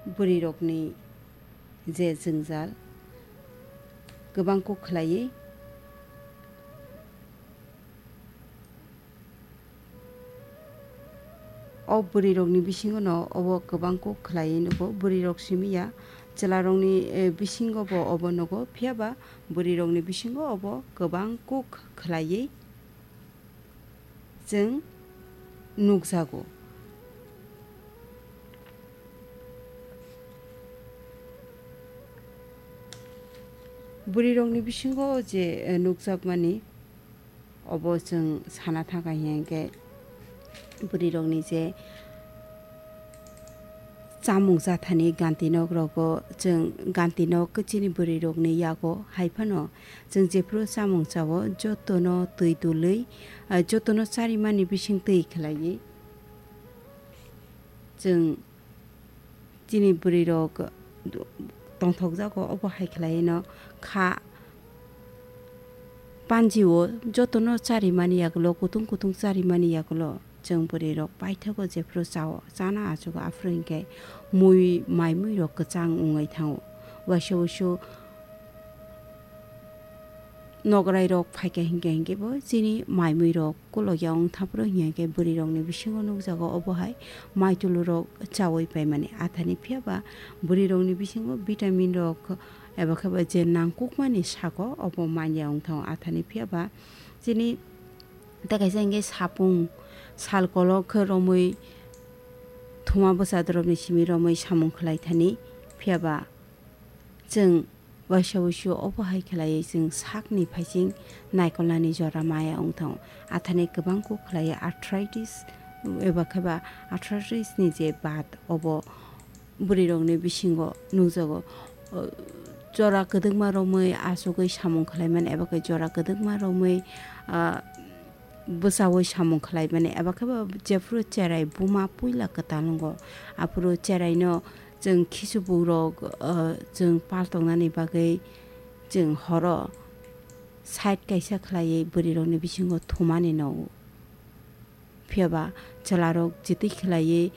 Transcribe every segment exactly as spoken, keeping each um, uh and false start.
Bwrwirokni je jwngjal kwbang kuk khlaiwi, o bwrwirokni bisingono obo kwbang kuk khlaiwi nugo. Bwrwirok simi ya, chwlarokni, eh, bisingobo obo nugo, phiya ba bwrwirokni bisingo obo kwbang kuk khlaiwi chwng nukjago. Bwrwirokni bisingo je, eh, nukjakmani, obo chwng sana thangkha hinkhe bwrwirokni je chamung jathani ganti nok rogo chwng ganti nok chini bwrwirokni yago hai phano chwng jephru chamung chao jotono twi dului, ah, jotono charimani bising twi khlaiwi chwng chini bwrwirok tongthokjago, obo hai khlaino kha panjio jotono charimani yagulo, kutung kutung charimani yagulo chwng bwrwirok paithago jephru chao, chana achugo, aphuru hinkhe mui, mai muirok kwchang wngwi thango. Waisa wuisu nograi rok phaikha hinkhe hinkhe bo chini mai mui rok kolokya wng thaphuru hinkhe bwrwi rokni bisingo nukjago obo hai mai tulu rok chawi paimani athani, phiya ba bwrwi rokni bisingo vitamin rok eba khe ba je nangkukmani sago obo manya wng thango athani, phiya ba chini tei kaisa hinkhe sapung sal kolok khe romwi thuma bwsa dorobni simi romwi samung khlai thani, phiya ba chwng waisa wuisu obo hai khlaiwi chwng sakni phaising naikolnani jora maya wng thango. Athani kwbang kuk khlaiwi arthritis eba khe ba arthritis ni je bat obo bwrwi rokni bisingo nukjago. O, jora kwdwkma romwi achugwi samung khlaimani eba khe jora kwdwkma romwi, ah, bwchaui samung khlaimani, eba khe bo jephuru cherai buma puila kwtal wngo, aphuru cheraino chwng khichibuk rok, ah, chwng paltongnani bagwi chwng horo side kaisa khlaiwi bwrwi rokni bisingo thumani no. Phiya ba chwla rok jitwi khlaiwi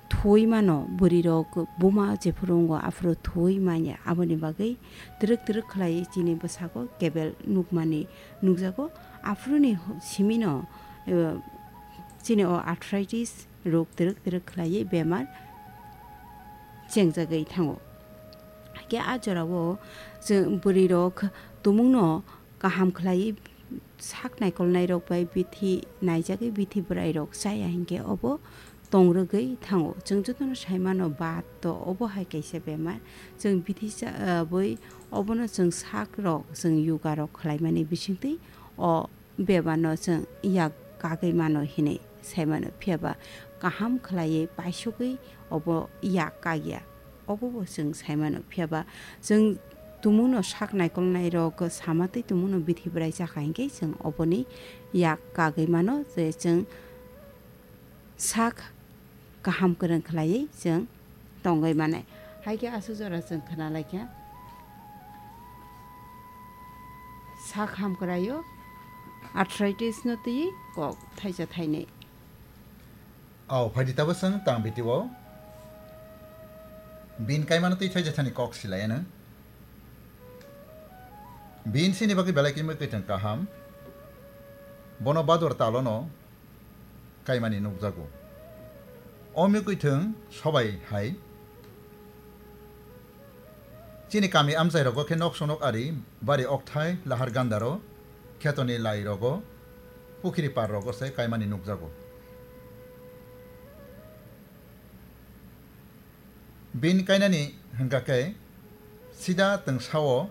thuwi mano, bwrwi rok buma jephuru wngo aphuru thuwi manya, aboni bagwi twrwk twrwk khlaiwi chini bwsago kebel nukmani nukjago. Aphuruni ho-, simino, eh, chini o arthritis rok twrwk twrwk khlaiwi bemar chengjagwi thango. Hakhe a jorao chwng bwrwi rok tumungno kaham khlaiwi sak naikolnai rok bai bithi naijagwi bithi bwrai rok chaya hinkhe obo tongrwgwi thango. Chwng jotono sai mano bat to obo hai kaisa bemar. Chwng bithi cha-, ah, bwi obono chwng sak rok, chwng yoga rok khlaimani bisingtwi o bemarno chwng yak kagwi mano hinwi sai mano, phiya ba kaham khlaiwi paisugwi obo yak kagya, obo bo chwng sai mano. Phiya ba chwng tumungno sak naikolnai rok sama twi tumungno bithi bwrai chakha hinkhe chwng oboni yak kagwi mano je chwng sak kaham kwrwng khlaiwi chwng tongwi manai. Hai khe aswk jora chwng khna lai kha sak ham kwraio arthritis no twi kok thaisa thainwi. Au, phaidi tabo chwng tang biti o. Bin kaimano twi thaisa thani kok silai ano. Bin sini bagwi belai khe mui kwthang kaham. Bono bador talono kaimani nukjago. O mui kwthang sobai hai. Chini kami amchai rogo khe nok sonok ari bari okthai lahar gandaro khetoni lai rogo pukhiri par rogo se kaimani nukjago. Bin kainani hwnkha khe sida twngsao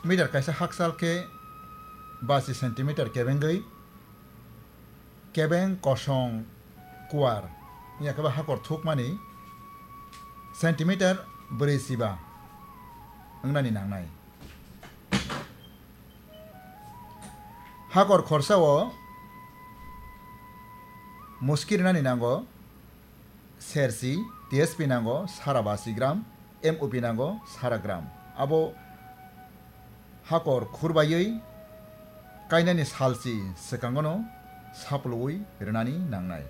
meter kaisa hakchal khe basi centimeter kebengwi kebeng kosong kuar wngya khe ba hakor thukmani centimeter brwi chiba wngnani nangnai. Hakor khorsa o muski rwnani nango sersi, T S P nango sara basi gram, M O P nango sara gram. Abo hakor khurbaiwi kainani salchi swkangono sapluwi rwnani nangnai.